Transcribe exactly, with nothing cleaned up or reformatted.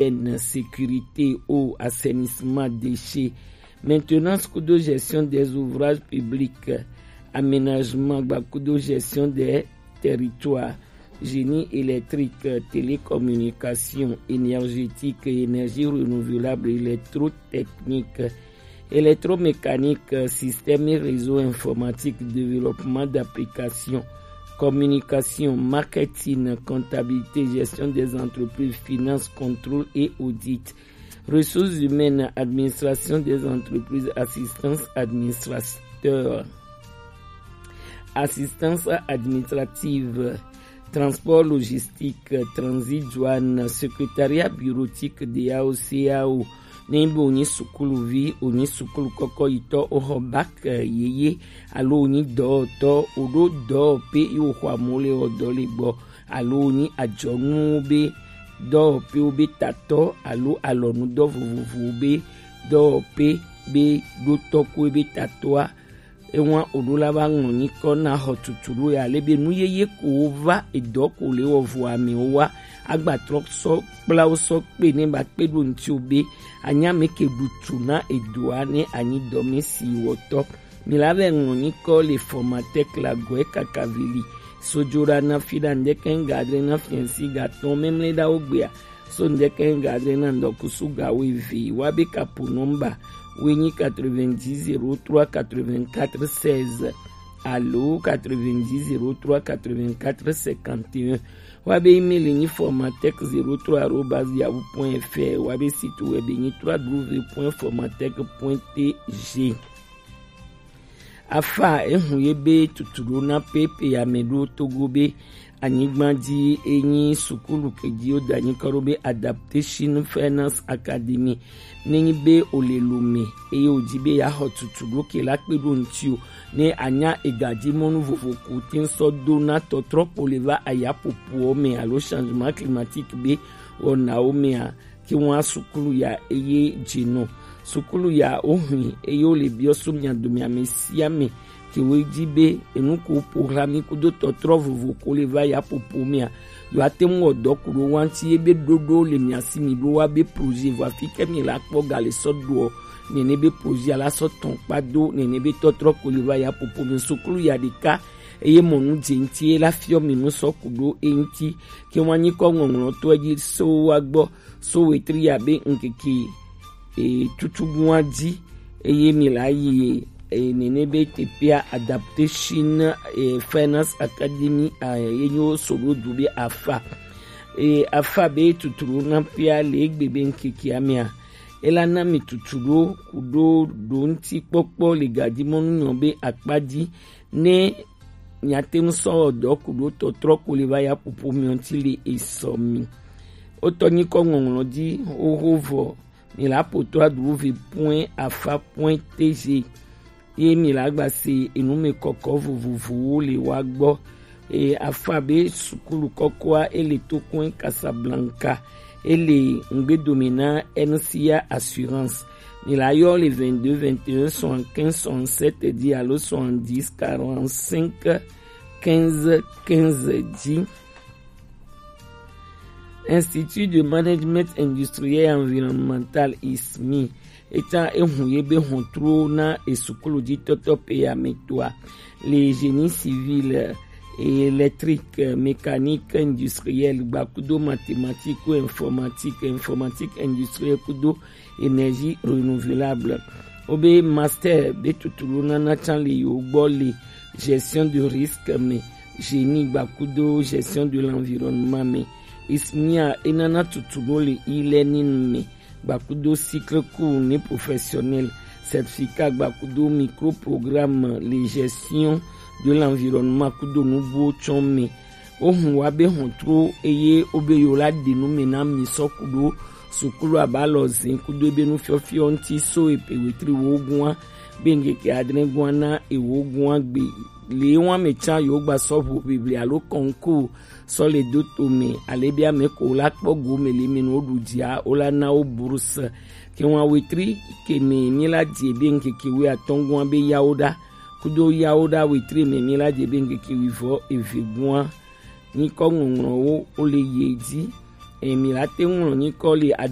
hygiène, sécurité, eau, assainissement, déchets, maintenance kudo gestion des ouvrages publics, aménagement gba kudo gestion des territoires, génie électrique, télécommunication, énergétique, énergie renouvelable, électrotechnique, électromécanique, système et réseau informatique, développement d'applications, communication, marketing, comptabilité, gestion des entreprises, finance, contrôle et audit, ressources humaines, administration des entreprises, assistance administrateur, assistance administrative, transport logistique, transit, douane, secrétariat bureautique de A O C A O. Ne be wonyi sukuluvi, wonyi sukulu kɔkɔ yitɔ, woxɔ bac, eh, yeye, alo wonyi dɔwɔtɔ, woɖo dɔwɔƒe yi woxɔ amewo le wɔ dɔ le gbɔ, alo wonyi adzɔnuwo be dɔwɔƒewo be tatɔ alo alɔnudɔ vovovowo be dɔwɔƒe be ɖotɔ koe be tatɔa, ewa oɖo la va ŋlɔ nyikɔ na xɔ tutu ɖo ya le be nu yeye ko wo va edɔ ko le wɔ vo amewo wa agba trɔ sɔ kpla wo sɔ kpe ne ba kpe ɖo ŋuti wo be anya me ke ɖutu na edoa ne anyi dɔ me si wɔtɔ. Mi la vɛ ŋlɔ nyikɔ le formateur klagɔe kakavili. Sojoɖa na fi ɖa ŋdɛkɛ ŋga adre na fiɛnsi gatɔn memle ɖa wo gbea. So ŋdɛkɛ ŋga adre na ŋdɔkusu ga wo eve wa be kapo nɔmba wo nyi quatre-vingt-dix zéro trois quatre-vingt-quatre seize alo quatre-vingt-dix zéro trois quatre-vingt-quatre cinquante et un. Wa be email nyi formatech zéro trois arobase yahoo point F R. Wa be site web nyi trois W point formatech point T G. Afa ehu ye be tutu ɖo na pepe ya me ɖo Togo be anyigba ji enyi sukulu ke ji wo da nyikɔ ɖo be Adaptation Finance Academy. Ne nyi be o le Lomé eye o ji be ya xɔ tutu ɖo ke la kpe ɖo ŋuti o, ne anya egaji mɔnu vovo ko te sɔ do na tɔtrɔ ko le va aya popo me alo changement climatique be wɔnawo mea, ke wa sukulu ya eye dzinɔ. Sukulu ya wo hui eye wo le biɔ so mia dome ame sia ame ke wo ji be enu ko po hla mi kudo tɔtrɔ vovo ko le va ya popo mea, yo ate ŋu wɔ dɔ ku ɖo wa ŋuti ye be ɖoɖo le mia si mi ɖo wa be projet vɔ afi ke mi la kpɔ ga le sɔ ɖoɔ nene be projet la sɔ tɔn kpa do nene be tɔtrɔ ko le va ya popo mi sukulu ya ɖeka eye mɔnu dze ŋuti ye la fiɔ mi nu sɔ ku ɖo e ŋuti ke wa nyikɔ ŋɔŋlɔ to edzi so wa gbɔ so wetri ya be ŋkeke e, tutugun wa ji eye mi la yi e, nene be teƒea Adaptation e, Finance Academy a, ye nyo so ɖo du be afa e, afa be tuturu na pia le egbe be ŋkeke amea ela na mi tutu ɖo ku ɖo ɖo ŋuti kpɔkpɔ le gadimɔnu nyɔ be akpa ji ne miate ŋu sɔ wɔ dɔ ku ɖo tɔtrɔ ko le va ya popo mi ŋuti le esɔ mi. Wotɔ nyikɔ ŋɔŋlɔ ji xoxo vɔ mi la poto aɖuvi point afa point T G ye mi la gba se enume kɔkɔ vovovowo le wa gbɔ. E, afa be sukulu kɔkɔa ele to kɔn Casablanca, ele ŋgbedome na N C A Assurance. Mi la yɔ le vingt-deux vingt et un soixante-quinze soixante-sept dix alo soixante-dix quarante-cinq quinze quinze dzi. Institut de Management Industriel et Environnemental, I S M I, eta ehu ye be hɔntruwo na esukulu ji tɔtɔ pe ya me toa le génie civil, électrique, mécanique industrielle, gbakudo mathématique ou informatique, informatique industrielle kudo énergie renouvelable. Wo be master be tutulu nana can le yewo gbɔ le gestion de risque me, génie gbakudo gestion de l'environnement me. I S M I a enana tutulu le e-learning me gbakudo cycle court ni professionnel, certificat gbakudo micro programme le gestion de l'environnement kudo nubuwo tsɔn me. Wohun wa be hɔntro eye wo be yewo la ɖe nu me na mi sɔ ku ɖo sukulu aba lɔ zin kudo ebe nufiɔfiɔ ŋuti so epe wetri wo gua be ŋkeke adre gua na ewo gua gbe le wa me can yewo gba sɔ ʋu ʋiʋli alo concours sɔ le do to me ale be ame ko la kpɔ go me le me nu wo ɖu dzia wo la na wo bourse. Ke wa wetri ke me mi la dze be ŋkeke wuiatɔ̃ gua be yawo ɖa kudo yawo ɖa wetri me mi la dze be ŋkeke wuivɔ eve gua. Nyikɔ ŋɔŋlɔwo wo le ye dzi. Emi la te ŋlɔ nyikɔ li ada